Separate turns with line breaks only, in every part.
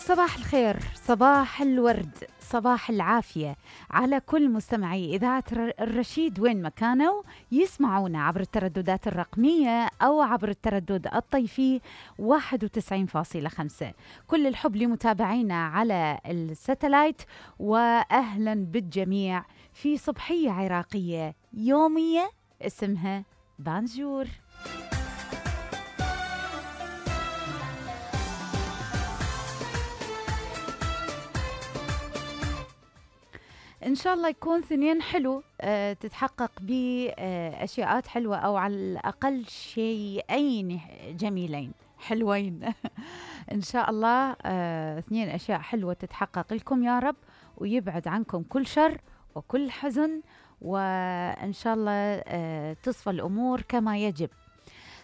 صباح الخير، صباح الورد، صباح العافية على كل مستمعي إذاعة الرشيد وين ما كانوا يسمعونا عبر الترددات الرقمية أو عبر التردد الطيفي 91.5. كل الحب لمتابعينا على الساتلايت، وأهلا بالجميع في صبحية عراقية يومية اسمها بانجور. إن شاء الله يكون ثنين حلو، تتحقق بأشياءات حلوة أو على الأقل شيئين جميلين حلوين إن شاء الله. اثنين أشياء حلوة تتحقق لكم يا رب، ويبعد عنكم كل شر وكل حزن، وإن شاء الله تصفى الأمور كما يجب.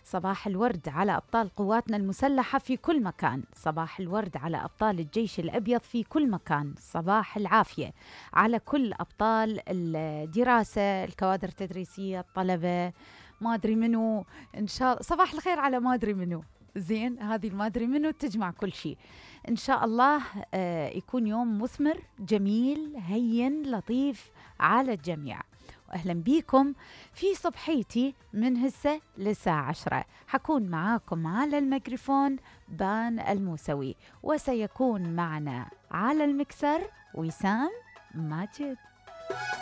صباح الورد على أبطال قواتنا المسلحة في كل مكان، صباح الورد على أبطال الجيش الأبيض في كل مكان، صباح العافية على كل أبطال الدراسة، الكوادر التدريسية، الطلبة، ما أدري منو. إن شاء الله صباح الخير على ما أدري منو. زين، هذه ما أدري منو تجمع كل شيء. إن شاء الله يكون يوم مثمر جميل هين لطيف على الجميع. أهلا بيكم في صبحيتي من هسه للساعة 10. حكون معاكم على الميكروفون بان الموسوي، وسيكون معنا على المكسر وسام ماجد.